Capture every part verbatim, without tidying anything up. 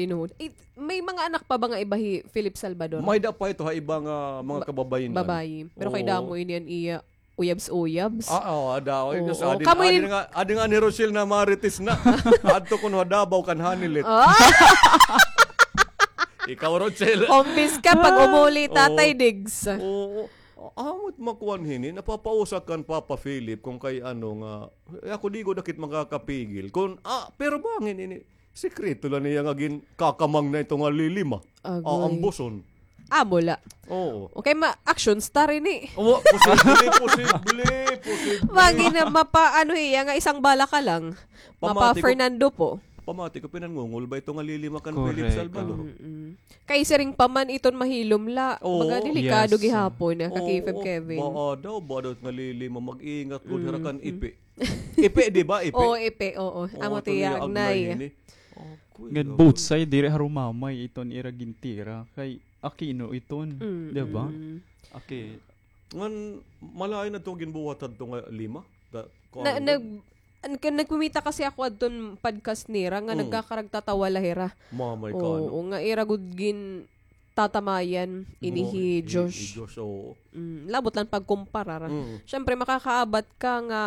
Tinuod. Eh, may mga anak pa ba nga iba hi Philip Salvador? May da pa ito ha iba nga mga kababayen man. Babayi. Pero kay damo ini an iya uyabs-uyabs. Ah, oo, ada. Oo, adi, kamo adi ini nga, adi nga ni Rochelle na marites na. Adto kuno ha Davao kan Hanilet. Ah! Ikaw, Rochelle. Hombis ka pag umuli, Tatay Diggs. Oo. Amo it makuan hini, napapausa kan Papa Philip kon kay ano nga, eh, ako di gud akit makakapigil. Kon, ah, pero bangin ini, sekreto la niya nga ginkakamang na ito nga lilima. Agoy. Ah, ambuson. Amo la. Oo. Okay, ma-, action star ini. Oo, posible, posible, posible. Bangin na mapa-, ano hiya nga isang bala ka lang. Mapa Fernando po. Pamati ko, pinangungol ba ito nga lilima kan Philip Salvador? Mm-mm. Kay siring pa man iton mahilom la. Oo. Baga delikado gihapon, ah, ka K five Kevin. Baa daw, baa daw nga lilima, mag-ingat gud hira kan ipi. Ipi, di ba? Ipi? Oo, ipi, oo. Amo tiya, agnay. Ngan both side, diri harumamay iton ira gintira. Kay Aquino iton, di ba? Okay. Ngan malain na ito ginbuhat adto nga lima? Nag-, nagkumita kasi ako adton podcast nira nga nagkakaragtatawa la hira. Mamay ka, ano? Oo, nga ira gud gintatamayan ini hi Josh. Hi Josh, oo. Mm, labot lang pagkumparar. Siyempre, makakaabat ka nga,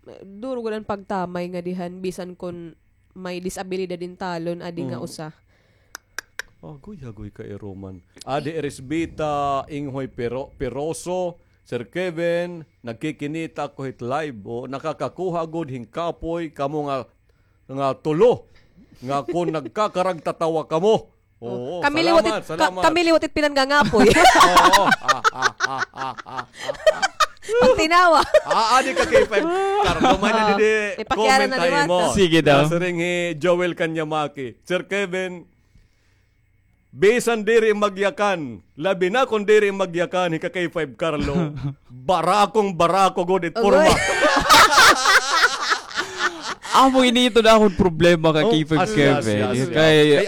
eh, duro gud an pagtamay nga dihan, bisan kon may disabilidad in talon, adi nga usa. Agoy, agoy ka, Roman. Adi Erisbita, Inghoy Pero-, Peroso, Sir Kevin, nagkikinita ako hit live. O, nakakakuha gud hin kapoy kamo nga, nga tulo. Nga kon nagkakaragtatawa kamo. Oo, kami liwat it, kami liwat it pinangangapoy. Oo. Pagtinawa. Ah, adi ka K five. Carlo, may na didi comment ha imo. Sige daw. Nasiring hi Joel Kanyamaki. Sir Kevin, bisan diri magyakan, labi na kon diri magyakan, hi ka K five Carlo, barakong barako gud it porma. Amo ini iton akon problema ka K five Kevin. Kay,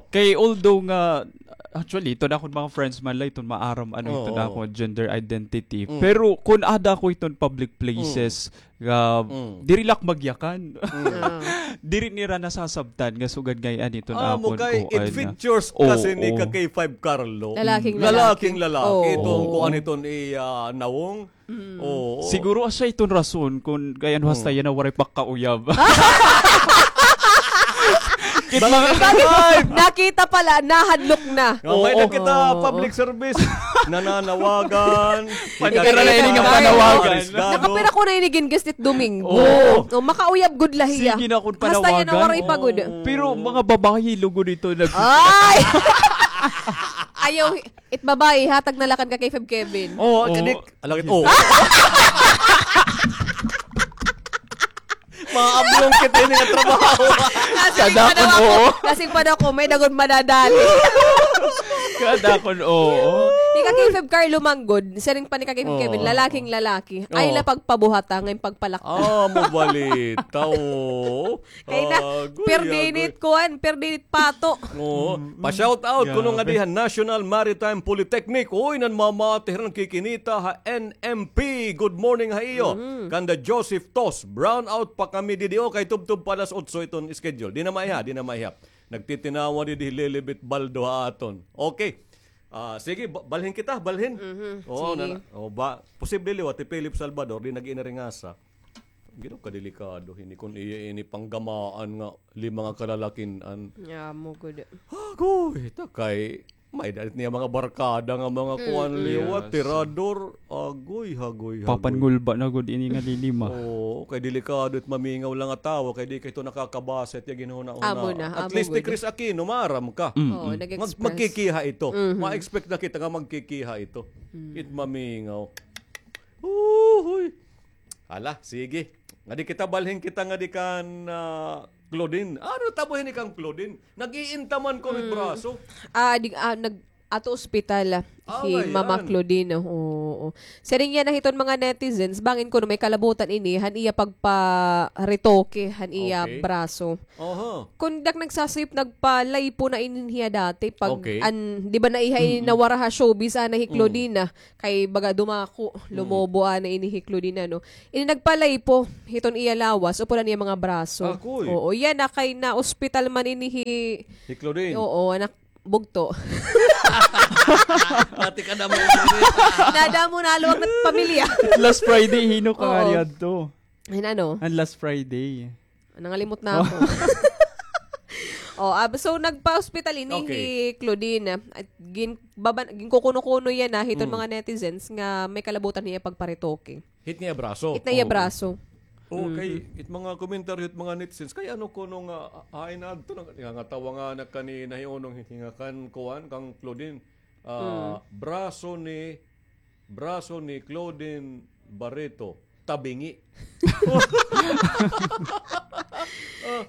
kay although nga, actually, iton akon mga friends man la, iton maaram, ano, iton akon gender identity. Pero kon ada ako iton public places, nga diri la ak magyakan. Diri nira nasasabtan nga sugad ngay-an iton akon kuan. It features kasi ni ka K five Carlo. Lalaking lalaki. Lalaking lalaki. Iton kuan iton iya nawong. Oo. Siguro asya iton rason kon kay ano hasta yana waray pagkauyab. Nakita pala, nahadlok na. May nakita public service. Nananawagan. Panigara na ini nga panawagan. Nakapira ko na ini gin-guest it Domingo. Oo. O, makauyab gud la hiya. Sige na kon panawagan. Hasta yana waray pa gud. Pero mga babayi lugod ito nag- Ay! Ayaw, it babayi, hatag na la kan ka K five Kevin. Oo, kadik. Alagit, oo. Maablong kita ini nga trabaho. Kadakon, oo. Kasing pa daw ko, may dagon madadali. Kadakon, oo. Ika K five Carlo manggod, siring pa ni ka K five Kevin, lalaking lalaki. Ay la pagpabuhata, ngay pagpalakta. Ah, mabalita, oo. Kay na, perdinit kuan, perdinit pato. Oo. Pa-shout out kuno nga diha National Maritime Polytechnic. Uy, nanmamati hira, nagkikinita ha N M P. Good morning ha iyo. Kanda Joseph Tos, brown out pa kami didi, o, kay tubtob pa alas otso iton schedule. Di na maiha, di na maiha. Nagtitinawa didi hi Lilibet Baldo ha aton. Okay. Ah, sige, ba-, balhin kita, balhin. Oo, sige. Na, o, ba, posible liwat hi Philip Salvador, di nag-inaringasa. Ginoo, kadelikado hini kon iya ini panggamaan nga lima nga kalalakin-an. Amo gud. Agoy, ta kay may dalit niya mga barkada nga mga kuan liwat, tirador. Agoy, agoy, agoy. Papangulba na gud ini nga lilima. Oo, kay delikado it mamingaw la nga tawo, kay di kay ito nakakabasa it iya ginhunahuna. Amo na, amo gud. At least ni Chris Aquino, maaram ka. Oo, nag-express. Magkikiha ito. Ma-expect na kita nga magkikiha ito. It mamingaw. Uy. Hala, sige. Ngadi kita, balhin kita ngadi kan, ah, Claudine. Ano tabo hini kan Claudine? Nag-iinta man kuno it braso. Ah, di, ah, nag-, Ato ospital, ah, hi Mama Claudine, oo. Siring yana hiton mga netizens, bangin kuno may kalabutan ini han iya pagparetoke han iya braso. Aha. Kun dak nagsasayop, nagpa-lipo na ini hiya dati pag an, di ba, naiha ini nawara ha showbiz, ana hi Claudine, kay baga dumako, lumobo ana ini hi Claudine, ano. Ini nagpa-lipo hiton iya lawas, upod an iya mga braso. Akoy. Oo, yana kay na-ospital man ini hi Claudine. Oo, anak bugto. Ate ka na mo. Nadamo na, luwag na pamilya. Last Friday, hin-o ka nga niadto? Hin ano? An last Friday. Nangalimot na ako. Oh, ah, so nagpa-ospital ini hi Claudine. At gin-, baban-, ginkukuno-kuno yana hiton mga netizens nga may kalabutan hiya pagparetoke. Hit nga iya braso. Hit nga iya braso. Okay, it mga komentaryo, it mga netizens, kay ano kuno nga, ah, ay na adto nga, nga tawa nga na kanina, hi unong hit nga kan kuan, kang Claudine, ah, braso ni, braso ni Claudine Barreto, tabingi.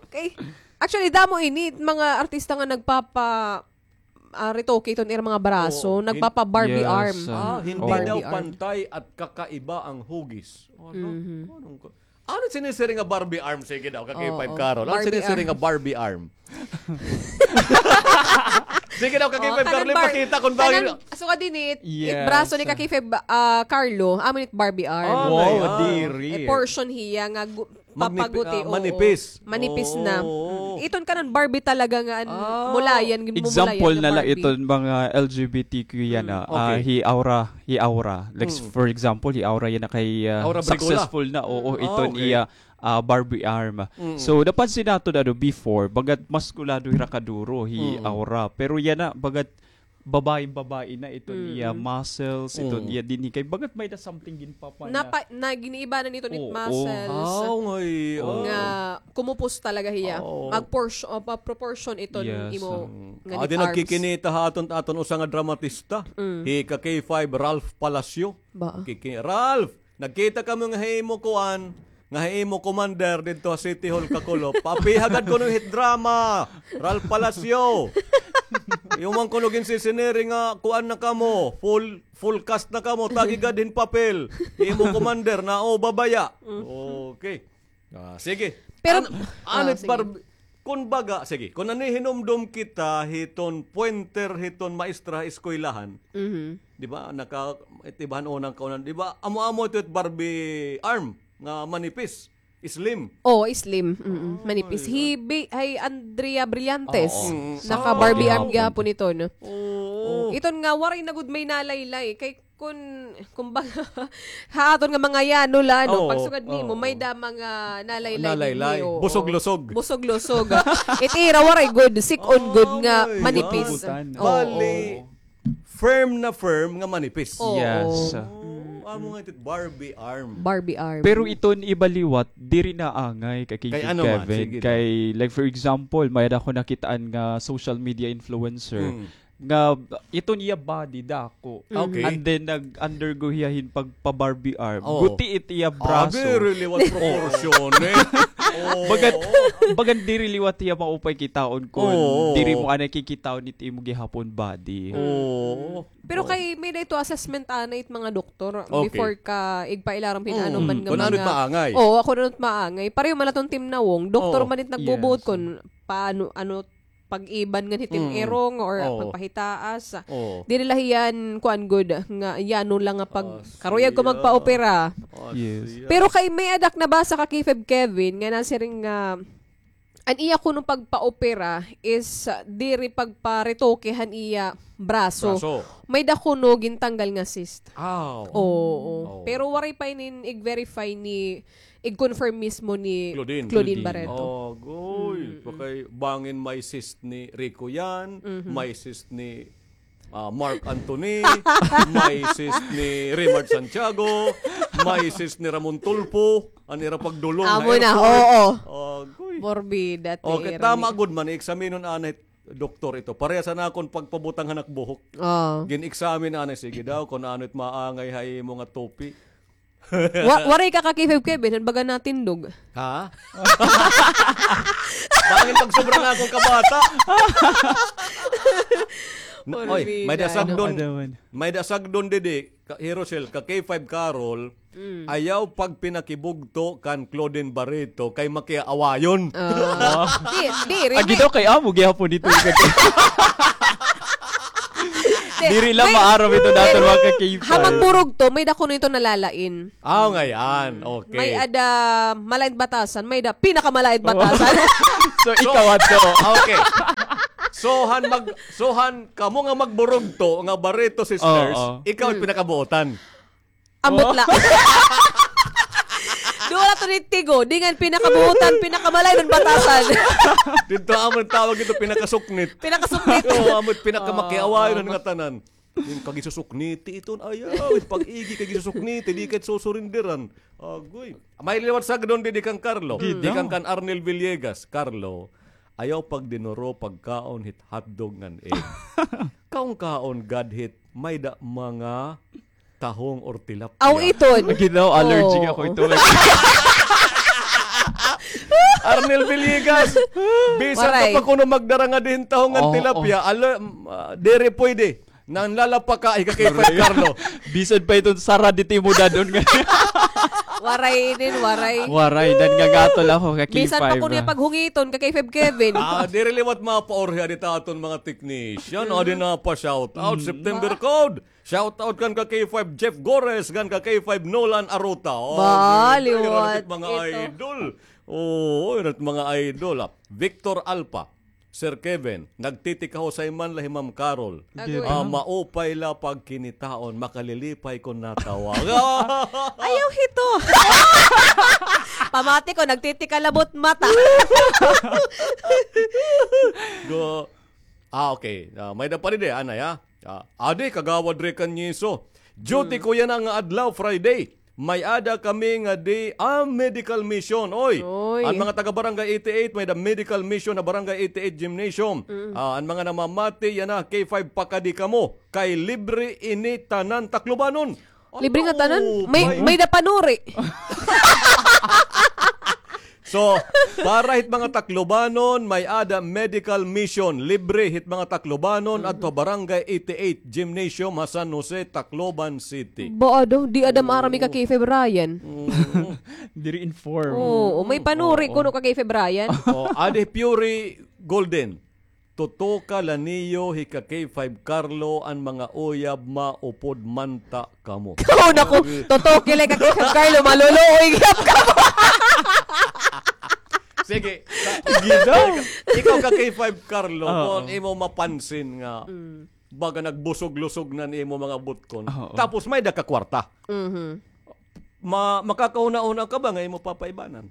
Okay. Actually, damo ini, mga artista nga nagpapa, ah, retoke iton ira mga braso, nagpapa-Barbie arm. Ah, hindi daw pantay at kakaiba ang hugis. Ano? Anong ko-, ano sinisiring nga Barbie arm? Sige daw, ka K five Carol. Ano sinisiring nga Barbie arm? Sige daw, ka K five Carol, ipakita kun bakit. Sugad dinhi, it braso ni ka K five, ah, Carlo, amo it Barbie arm. Wow, diri. Portion hiya nga gu-, papaguti, ah, oo. Manipis. Manipis na. Oo. Mm. Iton kanan Barbie talaga nga an-, mulayan, gin-, mumulayan. Example na la iton mga L G B T Q yana, ah, hi Aura, hi Aura. Like, for example, hi Aura yana kay, ah, successful na, oo, iton iya, ah, Barbie arm. So, napansin naton, ano, before, bagat maskulado hira kaduro hi Aura. Pero yana, bagat babae-babae na iton iya muscles, iton iya dinhi kay bagat may da something ginpapa na. Napa-, na giniibanan iton it muscles. Aw, ngay, nga kumupos talaga hiya. Mag-portion, uh, pa-, proportion iton imo nga nagkikinita ha aton, aton usa nga dramatista. Hi ka K five Ralph Palacio. Ba? Kiki-, Ralph, nagkita kami nga ha imo kuan, nga ha imo commander didto ha City Hall, Kakulop. Papiha gad kuno hit drama, Ralph Palacio. Iuman kuno ginsisiniri nga kuan na kamo, full, full cast na kamo, tagi gad hin papel. Imo commander na, o, babaya. Okay. Ah, sige. Pero, ano it Barbie, kun baga, sige, kun nanihinumdom kita hiton pointer hiton maestra ha eskwelahan, di ba, naka-, it iba han unang kaunan, di ba, amo-amo ito it Barbie arm nga manipis, slim. Oo, slim. Mm-mm. Manipis. Hi Bi-, hi Andrea Brillantes. Naka-Barbie arm gihapon ito, no? Oo. Iton nga, waray na gud may nalaylay. Kay kun, kumbaga, ha aton nga mga yano la, no? Pagsugad nimo, may da mga nalaylay. Nalaylay. Busog-lusog. Busog-lusog. It ira waray gud, sik-on gud nga manipis. Bali, firm na firm nga manipis. Yes. Amo nga it Barbie arm. Barbie arm. Pero iton iba liwat, diri na angay kay Kevin. Kay, like, for example, may da ako nakitaan nga social media influencer. Nga iton iya body dako. Okay. And then nag-undergo hiya hin pagpa-Barbie arm. Oo. Guti it iya braso. Diri liwat proporsyon, eh. Oo. Bagat, bagan diri liwat hiya maupay kitaon kun diri mo anay kikitaon it imo gihapon body. Oo. Pero kay may da ito assessment anay it mga doktor before ka igpailarom hin ano man nga mga. Kun ano it maangay. Oo, kun ano it maangay. Pareho man aton Team Nawong, doktor man it nagbubuot kun paano, ano, pag-iban ngan hitin irong or pagpahitaas. Diri la hiyan kuan gud nga yano la nga pag-, karuyag ko magpaopera. Yes. Pero kay may adak nabasa ka, K five Kevin, nga nasiring nga an iya kuno pagpaopera is, ah, diri pagparetoke han iya braso. Braso. May da kuno gintanggal nga cyst. Aw. Oo. Pero waray pa inin ig-verify ni ig-confirm mismo ni Claudine Barreto. Agoy, kay bangin may cyst ni Rico Yan, may cyst ni, ah, Mark Anthony, may cyst ni Rimard Santiago, may cyst ni Ramon Tulfo, an ira pagdulong. Amo na, oo. Agoy. Morbida, okay, tama gud man, i-examinon anay doktor ito. Parehas an akon pagpabutang han ak buhok. Oo. Gin-examine anay, sige daw, kun ano it maangay ha imo nga tupi. Wa-, waray ka ka K five Kevin, han baga natindog. Ha? Bangin pagsobra nga akon kabata. Na, oy, may da sagdon, may da sagdon didi, ka, Hirosel, ka K five Carol, ayaw pagpinakibugto kan Claudine Barreto kay makiaawayon. Ah. Di, di, rin. Agi daw kay amo gihapon dito. Diri lang maaram ito naton, mga ka-K five. Ha magburugto, may da kuno ito nalalain. Ah, ngayan. Okay. May ada malain batasan, may da pinakamalain batasan. So, ikaw adto. Okay. So, han mag-, so, han kamo nga magburugto nga Barreto Sisters, ikaw it pinakabuotan. Ambot la. Duha la to ni Tigo, di ngan pinakabuotan, pinakamalain an batasan. Dito amo tawag ito, pinakasuknit. Pinakasuknit. Oo, amo pinakamakiawayon nga tanan. Yung kagisusukniti iton, ayaw, it pag-igi kagisusukniti, di ka it susurindiran. Agoy. May liwat sagdon didi kan Carlo. Didi kan, kan Arnel Villegas. Carlo, ayaw pagdinuro pagkaon hit hotdog ngan egg. Kaon-kaon gad hit may da mga tahong or tilapia. Aw, iton. Agi daw, allergic ako ito. Arnel Villegas, bisan ka pa kuno magdara nga dihin tahong ngan tilapia, ala, ah, diri pwede. Nanlalapaka, ika kay Fred Carlo. Bisan pa iton sara diti mo dadon nga. Waray inin, waray. Waray, dan nga gatol ako ka K five. Bisan pa kuno paghungiton ka kay Feb Kevin. Ah, diri liwat mapaorhi adi ta aton mga technician. Adi na pa shout out, September Code. Shout out kan ka K five Jeff Gores, kan ka K five Nolan Arota. Oh, ba, liwat mga idol. Oo, mga idol. Ah, Victor Alpa. Sir Kevin, nagtitikahusay man la hi Ma'am Carol. Agoy. Ah, maupay la pagkinitaon, makalilipay kon natawa. Ayaw hito. Pamati ko, nagtitikalabot mata. Go. Ah, okay. Ah, may da pa rin eh, anay, ah. Ah, adi, kagawad Rican Niso. Duty ko yana nga adlaw, Friday. May-ada kami nga di, ah, medical mission. Oy, an mga taga Barangay eighty-eight, may-ada medical mission ha Barangay eighty-eight Gymnasium. Ah, an mga namamati, yana, K five, pakadi kamo. Kay libre ini tanan Taclobanon. Libre nga tanan? May, may-ada panuri. So, para hit mga Taclobanon, may-ada medical mission. Libre hit mga Taclobanon adto Barangay eighty-eight Gymnasium ha San Jose, Tacloban City. Ba, ado, di ada maaram ka kay Feb Ryan. Diri inform. Oo, may panuri kuno ka kay Feb Ryan. Oh, adi Fury Golden. Tutuka la niyo hi ka K five Carlo an mga uyab, maupod man ta kamo. Oo, naku, tutuki la ka K five Carlo, maluluoy gyap kamo. Sige, ikaw ka K five Carlo, kon imo mapansin nga baga nagbusog-lusog na an imo mga butkon. Tapos may-ada ka kwarta. Ma-, makakahuna-huna ka ba nga imo papaibanan?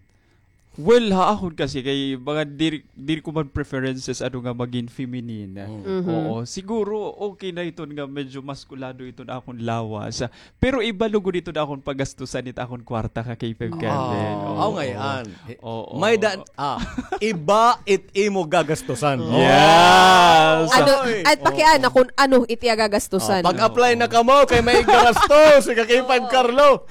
Well, ha akon kasi kay mga diri, diri ko man preferences ano nga magin feminine. Oo, siguro okay na iton nga medyo maskulado iton akon lawas. Pero iba lugod iton akon pagastusan it akon kwarta ka K five Kevin. Aw, ngay-an. Oo. May da-, ah, iba it imo gagastusan. Yes. Ano, at pakiana kung ano it iya gagastusan. Pag-apply na kamo kay may gagastos, ika K five Carlo.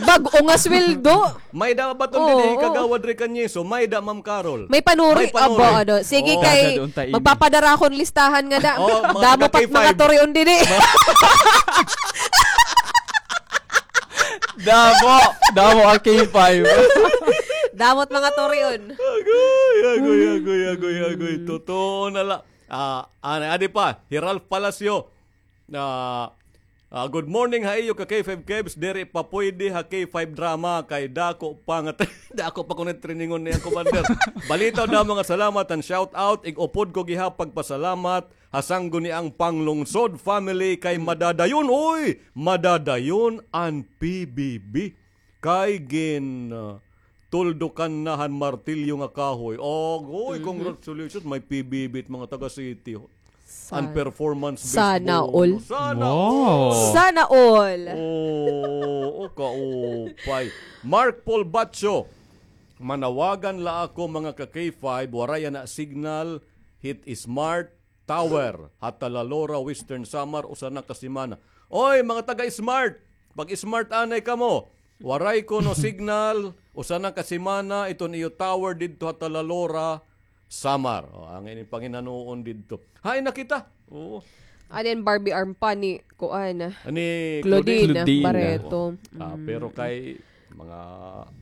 Bag-o nga sweldo. May-ada ba iton dinhi, Kagawad Rican Niso? May-ada, Ma'am Carol. May panuri. May panuri. Aba, ano. Sige, kay magpapadara akon listahan ngada. Damo pa it mga turion dinhi. Damo. Damo an K five. Damo it mga turion. Agoy, agoy, agoy, agoy, agoy. Totoo na la. Ah, anay, adi pa, hi Ralph Palacio. Ah, ah, good morning ha iyo ka K five Kevs, diri pa pwede ha K five drama kay dako pa nga, dako pa kuno it trainingon niya, Commander. Balitaw, damo nga salamat and shout out, ig-upod ko gihap pagpasalamat ha sangguniang panglungsod family kay madadayon, uy, madadayon an P B B. Kay gin, ah, tuldukan na han martilyo nga kahoy. Agoy, congratulations, may P B B it mga taga city. An performance-based bonus. Sana all. Sana all. Sana all. Oo, o kaupay. Mark Paul Bacho, manawagan la ako, mga ka K five, waray yana signal hit Smart Tower ha Talalora, Western Samar, usa na ka semana. Oy, mga taga-Smart, pag-smart anay kamo. Waray kuno signal, usa na ka semana iton iyo tower didto ha Talalora. Samar. O, an ini panginanoon didto. Hain na kita? Oo. Ano yan, Barbie arm pa ni, kuan, ni Claudine Claudine. Barreto. Ah, pero kay mga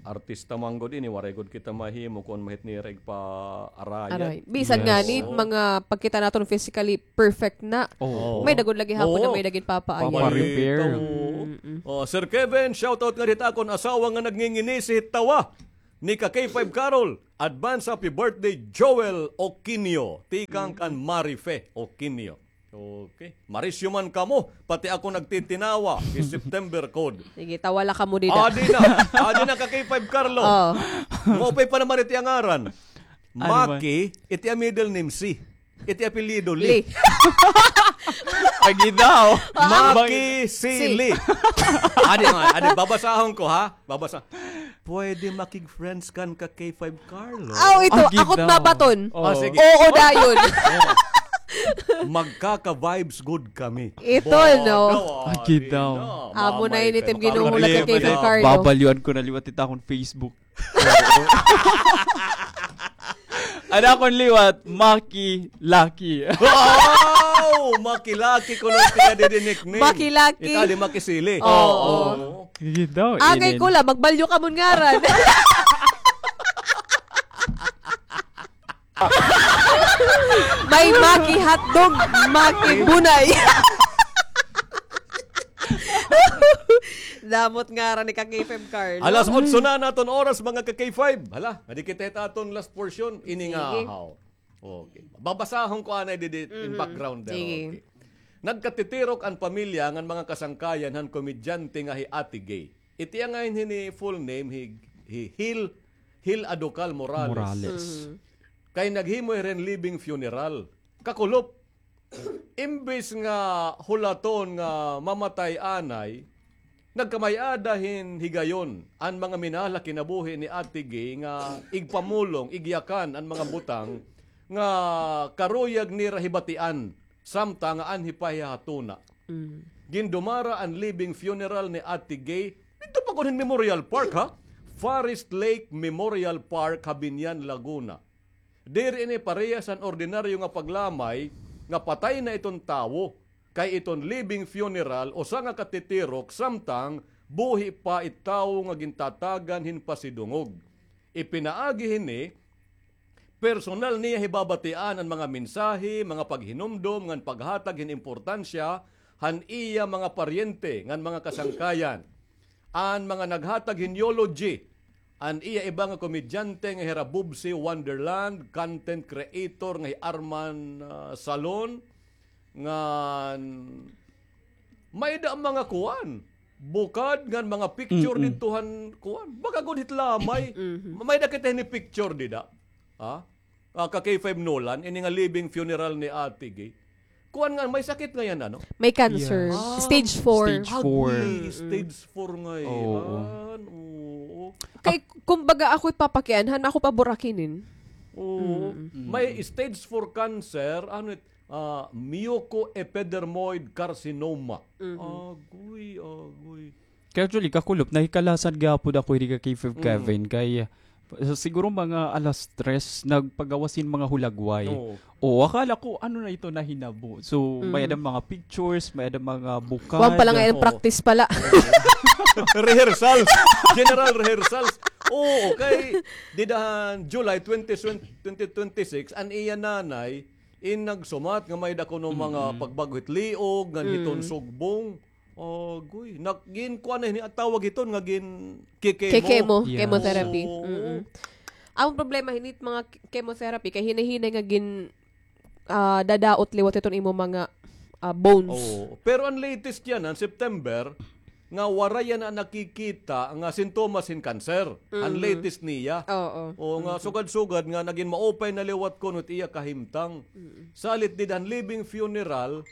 artista man gud ini, waray gud kita mahimo kon mahit nira igpaarayan. Aray. Bisan nga ni mga pagkita naton physically perfect na. Oo. May dagod lagi hapon na may dagod papaayan. Papa-repair. Oo. Mm-mm. Oh, Sir Kevin, shoutout nga dita akon asawa nga nagnginginisi hit tawa ni ka K five Carol. Advance happy birthday, Joel Oquinio. Tikang kan Marife Oquinio. Okay. Marisyo man kamo, pati ako nagtitinawa. Is September code. Sige, tawa la kamo dida. Adi na. Adi na ka K five Carlo. Oh. Maupay pa naman iti ngaran. Ano ba? Maki, iti a middle name si. Iti apelyido Lee. Lee. Lagi daw. Maki si Lee. Adi, adi, babasahon ko, ha? Babasa. Pwede makig-friends kan ka K five Carlo. Aw, ito, akot mabaton. Ah, sige. Oo, dayon. Magkaka-vibes good kami. Ito, no? Agi daw. Amo na ini it im ginuhulat ka kay Carlo. Babalyuan ko na liwat it akon Facebook. An akon liwat, Maki Lucky. Wow! Maki Lucky kuno it iya didi nickname. Maki Lucky. Ikaw di Maki Sili. Oo. Agi daw. Angay ko la, magbalyo kamo hin ngaran. May Maki hotdog, Maki bunay. Damo it ngaran ni ka K five Carlo. Alas otso na an aton oras, mga ka K five. Hala, adi kita hit aton last portion. Ini nga, haw. Okay. Babasahon ko anay didi in background. Sige. Okay. Nagkatitirok an pamilya ngan mga kasangkayan han komedyante nga hi Ate Gay. Iti iya ngay-an hini full name, hi, hi Hil, Hil Adocal Morales. Morales. Kay naghimo hira hin living funeral. Kakulop. Imbes nga hulaton nga mamatay anay, nagkamay-ada hin higayon an mga minahal ha kinabuhi ni Ate Gay nga igpamulong, igyakan an mga butang nga karuyag nira hibatian, samtang nga anhi pa hiya ha tuna. Gindumara an living funeral ni Ate Gay didto pa gud hin Memorial Park, ha? Forest Lake Memorial Park ha Biñan, Laguna. Diri ini parehas han ordinaryo nga paglamay nga patay na iton tawo, kay iton living funeral usa nga katitirok samtang buhi pa it tawo nga gintatagan hin pasidungog. Ipinaagi hini, personal niya hibabatian an mga mensahe, mga paghinumdom ngan paghatag hin importansya han iya mga paryente ngan mga kasangkayan. An mga naghatag hin eulogy, an iya iba nga komedyante nga hira Bubsy Wonderland, content creator nga hi Arman, ah, Salon, ngan may-ada mga kuan, bukad ngan mga picture didto han kuan. Baga gud hit lamay. May-ada kita hini picture dida. Ha? Ah, ka K five Nolan, ini nga living funeral ni Ate Gay. Kuan nga, may sakit ngay-an, ano? May cancer. Yes. Ah, stage four. Stage four. Agoy, stage four ngay-an. Oo. Kay, kumbaga, ako ipapakianhan, ako pa burakinin. Oo. May stage four cancer, ano it, ah, mucoepidermoid carcinoma. Agoy, agoy. Kay actually, kakulop, nahikalasan gihapon ako hini ka K five Kevin, kay, ah, siguro mga alas tres, nagpagawas hin mga hulagway. Oo. Oo, akala ko, ano na ito nahinabo? So, may-ada mga pictures, may-ada mga bukad. Kuan pa la ngay-an, practice pa la. Rehearsals. General rehearsals. Oo, kay dida han July twenty, twenty twenty-six, an iya nanay, in nagsumat nga may-ada kuno mga pagbag-o hit liog, ngan hiton sugbong. Agoy, nag-, ginkuan na hini, an tawag hiton nga gin-kikemo. Kikemo, chemotherapy. Oo. An problema hini it mga chemotherapy, kay hinay-hinay nga gin-, ah, dadaot liwat hiton imo mga, ah, bones. Oo. Pero an latest yana, an September, nga waray yana nakikita nga sintomas hin cancer. An latest niya. Oo. O, nga sugad-sugad nga nagin maupay na liwat kuno it iya kahimtang. Salit dida han living funeral,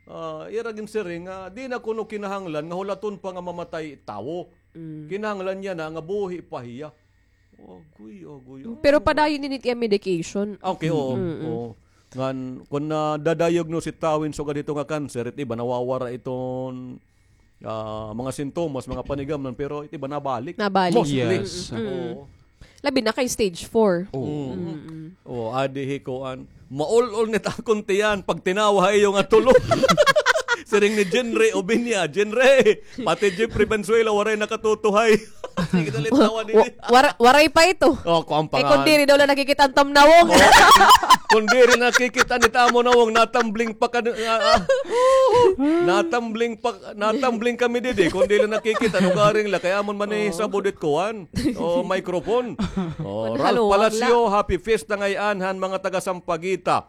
ah, ira ginsiring nga di na kuno kinahanglan nga hulaton pa nga mamatay tawo. Kinahanglan niya na nga buhi pa hiya. Agoy, agoy, agoy. Pero padayon ini it iya medication. Okay, oo. Oo. Ngan, kon na-diagnose it tawo hin sugad hito nga cancer, it iba nawawara iton, ah, mga sintomas, mga panigamnan, pero it iba nabalik. Nabalik. Mostly. Yes. Oo. Labi na kay stage four. Oh. Mm-mm. Oh, adi hi kuan. Maul-ol nit akon tiyan pag tinawa ha iyo nga tulo. Siring ni Jinre Obiña, Jinre, pati Jeffrey Valenzuela waray nakatutuhay. Sige, dali, tawa didi. Wa-, wara-, waray pa ito. Oh, kuan pa. Kay nga, kun diri daw la nakikita an tamnawong. Oh, kun diri nakikita nit amo nawong, natambling pa ka, ah, ah. Natambling pa, natambling kami didi. Kun diri nakikita, nugaring la, kay amon man ni sabod it kuan. Oh, microphone. Oh, Ralph Palacio, happy fiesta ngay-an han mga taga Sampaguita.